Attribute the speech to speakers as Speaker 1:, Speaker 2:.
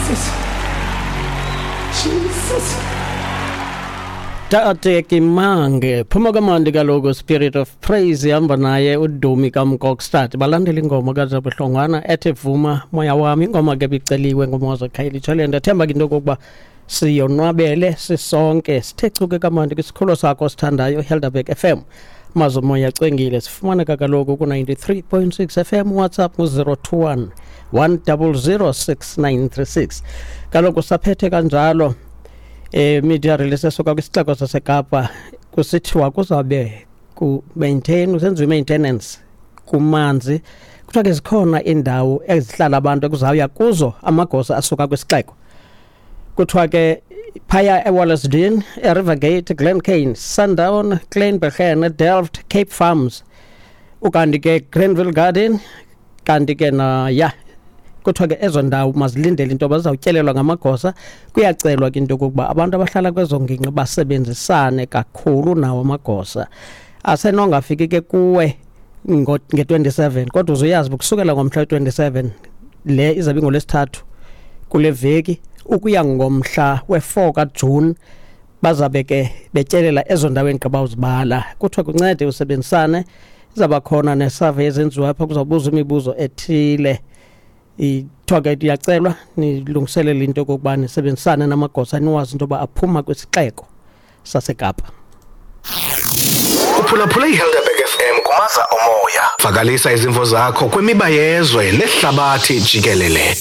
Speaker 1: Jesus. Jesus.
Speaker 2: Tate Kimange phuma kamandi kaloku, Spirit of Praise ihamba naye uDumi kaMkokstad, balandela ingoma kaJabu Hlongwana ethi "Vuma Moya Wami". Ingoma ke biceliwe nguMoza Khayelitsha. Le ndathemba ke into yokokuba siyonwabele sisonke, sithe chuke kamandi kwisikhululo sakho sithandayo, Helderberg FM. Mazo moya cwengile, sifumaneka kaloku ku-93.6 FM. WhatsApp ngu-021 100 6936. Kaloku saphethe kanjalo media release esuka kwisixeko saseKapa, kusithiwa kuzawube ku-maintain, kusenziwa i-maintenance kumanzi. Kuthiwa ke zikhona iindawo ezihlala abantu ekuzawuya kuzo amagosa asuka kwisixeko. Kuthiwa ke phaya eWallacedene, eRivergate, Glencairn, Sundown, Kleinbergen, Delft, Cape Farms, ukanti ke Grenville Garden, kanti ke naya. Kuthiwa ke ezo ndawo mazilindele into yoba zizawutyelelwa ngamagosa. Kuyacelwa ke into yokokuba abantu abahlala kwezo ngingqi basebenzisane kakhulu nawo amagosa. Asenongafiki ke kuwe nge-27, kodwa uzuyazi ukusukela ngomhla we-27, le izabe ingolwesithathu kule veki, ukuya ngomhla we-4 kaJuni, bazabe ke betyelela ezo ndawo endigqiba uzibala. Kuthiwa kuncede usebenzisane. Izawuba khona ne-survey ezenziwa apha, kuzawubuzwa imibuzo ethile. Ithiwa ke iyacelwa nilungiselele into yokokuba nisebenzisane namagosa, niwazi into yoba aphuma kwisixeko saseKapa.
Speaker 3: Uphulaphule iHelderberg FM kumaza omoya. Vakalisa izimvo zakho kwimiba yezwe nehlabathi jikelele.